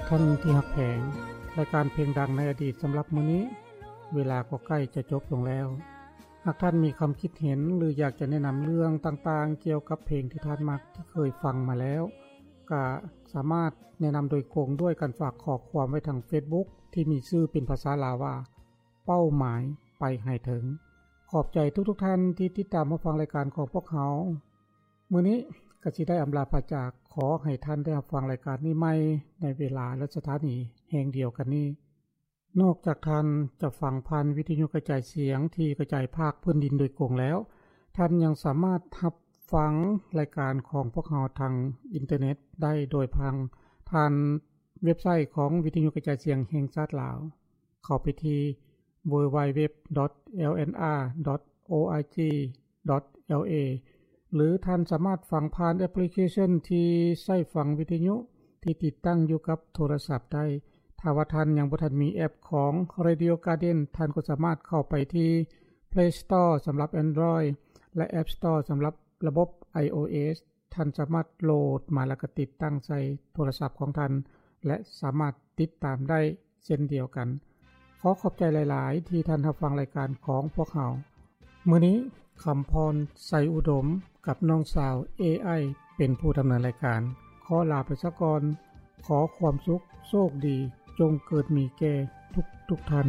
ທ່ານທີ່ຮັກແພງ, ລາຍການເພງດັງໃນອະດີດສຳລັບມື້ນີ້ ເວລາກໍໃກ້ຈະຈົບລົງແລ້ວ. ຫາກທ່ານມີຄຳຄິດເຫັນ ຫຼື ຢາກຈະແນະນຳເລື່ອງຕ່າງໆ ກ່ຽວກັບເພງທີ່ທ່ານມັກ ທີ່ເຄີຍຟັງມາແລ້ວ, ກະສາມາດແນະນຳໂດຍກົງດ້ວຍການຝາກຂໍ້ຄວາມໄວ້ທາງເຟສບຸກ ທີ່ມີຊື່ເປັນພາສາລາວວ່າ ເປົ້າໝາຍໄປໃຫ້ເຖິງ. ຂອບໃຈທຸກໆທ່ານທີ່ຕິດຕາມຮັບຟັງລາຍການຂອງພວກເຮົາ. ມື້ນີ້ກະຊິໄດ້ອຳລາພາຈາກ, ຂໍໃຫ້ທ່ານໄດ້ຮັບຟັງລາຍການນີ້ໃໝ່ໃນເວລາ ແລະ ສະຖານີແຫ່ງດຽວກັນນີ້. ນອກຈາກທ່ານຈະຟັງຜ່ານວິທະຍຸກະຈາຍສຽງທີ່ກະຈາຍພາກພື້ນດິນໂດຍກົງແລ້ວ, ທ່ານຍັງສາມາດຮັບຟັງລາຍການຂອງພວກເຮົາທາງອິນເຕີເນັດໄດ້ໂດຍຜ່ານ ຜ່ານເວັບໄຊຂອງວິທະຍຸກະຈາຍສຽງແຫ່ງຊາດລາວ. ເຂົ້າໄປທີ່ www.lnr.org.la ຫຼື ທ່ານສາມາດຟັງຜ່ານແອັບພລິເຄຊັນທີ່ໃຊ້ຟັງວິທະຍຸທີ່ຕິດຕັ້ງຢູ່ກັບໂທລະສັບໄດ້. ຖ້າວ່າທ່ານຍັງບໍ່ທັນມີແອັບຂອງ Radio Garden, ທ່ານກໍສາມາດເຂົ້າໄປທີ່ Play Store ສຳລັບ Android ແລະ App Store ສຳລັບລະບົບ iOS. ທ່ານສາມາດໂຫຼດມາ ແລ້ວກໍຕິດຕັ້ງໃສ່ໂທລະສັບຂອງທ່ານ ແລະ ສາມາດຕິດຕາມໄດ້ເຊັ່ນດຽວກັນ. ຂໍຂອບໃຈຫຼາຍໆ ທີ່ທ່ານຮັບຟັງລາຍການຂອງພວກເຮົາ. ມື້ນີ້ ຄຳພອນ ໄຊອຸດົມ ກັບນ້ອງສາວ ເອໄອ ເປັນຜູ້ດຳເນີນລາຍການ. ຂໍລາໄປຊະກ່ອນ. ຂໍຄວາມສຸກ, ໂຊກດີ ຈົ່ງເກີດມີແກ່ທຸກໆທ່ານ.